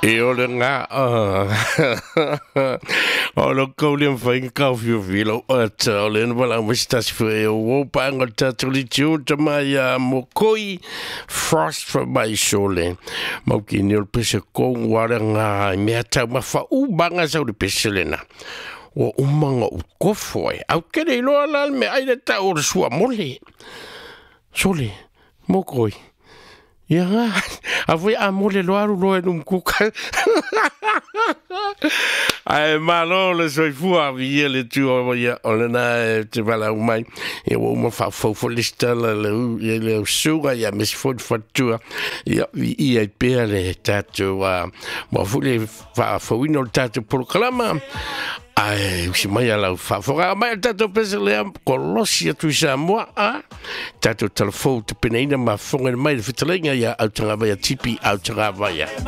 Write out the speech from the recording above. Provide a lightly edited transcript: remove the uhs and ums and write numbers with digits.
E o le ngā o lo kau le mwhai kau whio whilo ata o le wala o mistasi fwe e o wau paanga tatou li tiu tama ia mokoi frost from my sole mau ki ni o le pese kong wara ngā mea tau mawha u banga sau le pese lena ua umanga u kofo e au kere iloa la le mea ai le tau o le sua mole sole mokoi Ia ngā, a foi a mole loa aru loa e num kuka. Ae malo le soifua vi le tu o ia o le na e te vala mai. Ia ua uma whaafau fo lista la le u ia le suga ia mes fo fatua. Ia vi ia i pea le tātou a mo fu le whaafauina o le tātou polokalama. Ae usi mai a lau whaafoga mai a tātou pese lea kolosi atu i Samoa a tātou telefou te peneina ma whonga mai le fitalenga ia autanga vai a tipi autanga vai.